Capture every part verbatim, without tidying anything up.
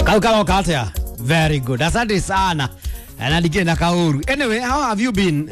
Kau karoka atia? Very good. Asante sana. Na ndikire na kauru. Anyway, how have you been?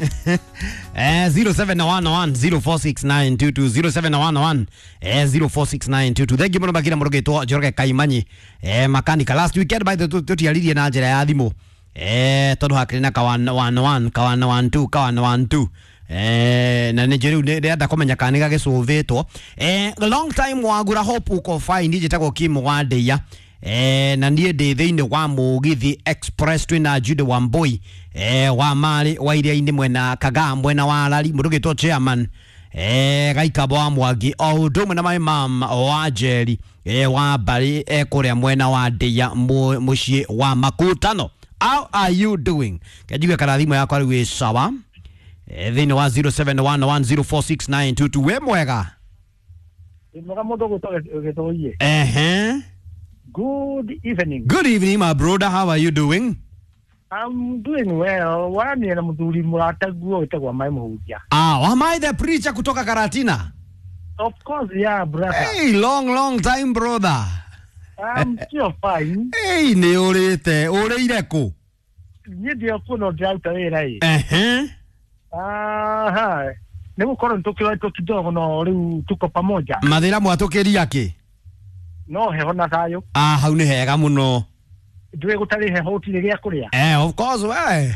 Eh, zero seven one one zero four six nine two two zero seven one one eh zero four six nine two two. Thank you muno makira murugetwo Njoroge Kaimanyi eh makanika. Last weekend by the tutiaririe na njira ya thimu eh tondu hakiri na ka one one one ka one one two ka one one two eh na nä rä u ndärenda kå menya kana nä gagä eh long time wagura hope uko fine njätagwo Kim wa Ndeia eh na niä ndä thä inä wa Mũgithi Express twä Jude Wambui eh wa marä wa iria-inä mwena Kagaa mwena wa Rari må ndå gä two chairman eh Gaikabo wa Mwangi o ũndũ ũmwe na my mom wa Njeri eh wa Mbari eh kũrĩa mwena wa Ndeia mũciĩ wa Makutano. How are you doing? Kenjigue kana thimũ yakwa rĩu ĩ sawa eh thĩinĩ wa zero seven one one zero four six nine two two. Wĩ mwega? Mwega mũndũ gwĩtwo Gĩthũiĩ. Ehe. Good evening. Good evening, my brother. How are you doing? I'm doing well. Warania na mũthuri mũrataguo wĩtagwo Mai Mũhunjia. Ah, am I the preacher kutoka Karatina? Of course, yeah, brother. Hey, long long time, brother. I'm still fine. Hey, nĩ ũrĩte, ũrĩire kũ? Niĩ ndĩ kuo no ndĩraruta wĩra ĩ. Ehe. Aha. Nĩ gũkorwo nĩtũkĩroetwo kidogo no rĩu tuko pamoja. Mathĩna mwatũkĩria kĩ? No heho na thayũ. Ah, hau nĩ hega mũno. Ndũĩ gũtarĩ heho gũtirĩ gĩa kũrĩa. Eh, of course we.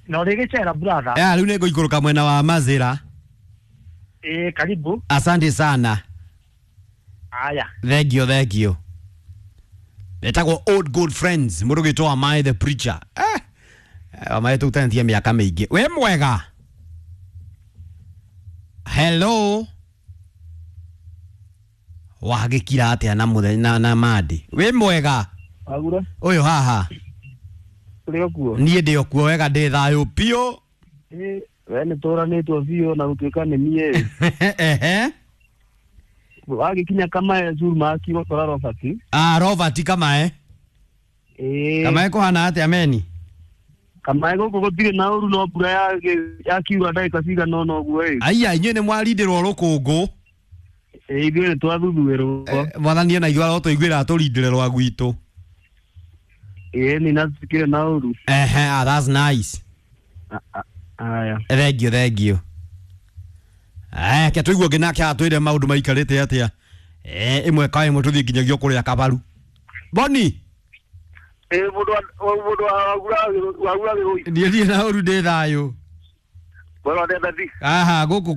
Na ũrĩ gĩcera brother. Eh, rĩu nĩ ngũikũrũka mwena wa Mazĩra. Eh, karibu. Asante sana. Aya. Thank you, thank you. Etagwo old good friends, mũndũ gĩtwo Amai the preacher. Eh, Amai tũkutanĩtie mĩaka mĩingĩ. Wĩ mwega? Hello. Wagĩkira atĩa na mũthenya na, na mandi? Wĩ mwega? Agura. Ũyũ haha. Ũrĩ okuo? Niĩ ndĩ okuo wega, ndĩ thayũ biũ. Ĩ, we nĩ tũranĩtwo biũ na gũtuĩka nĩ niĩ. Ehe. Wagĩkinya Kamae Zurumaki gũkora Robert. Ah, Robert Kamae. Ĩ. Kamae kũhana atĩa meni? Kamae gũkũ gũtirĩ na ũru no mbura yakiura ndagĩka cigana ũna ũguo ĩ. Aya, inyuĩ nĩ mwarindĩrwo rũkũngũ. Ĩ, ithuĩ nĩ twathuthurĩrwo. Mwathani ona ithuĩ arotũiguĩra atũrindĩre rwa gwitũ. Ĩ, nĩ na tukĩrĩ na ũru. Ehe, ah, that's nice. Aya. Thank you, thank you. Eh, ke tũigue ũngĩ nake atwĩre maũndũ maikarĩte atĩa. Eh, ĩmwe kwa ĩmwe tũthiĩ nginyagia kũrĩa Kabaru. Boni. Ĩ, mũndũ wa mũndũ wa wagura Gĩthũi. Niĩ ndirĩ na ũru, ndĩ thayũ. Mwena wa Ndendathi. Aha, gũkũ kwa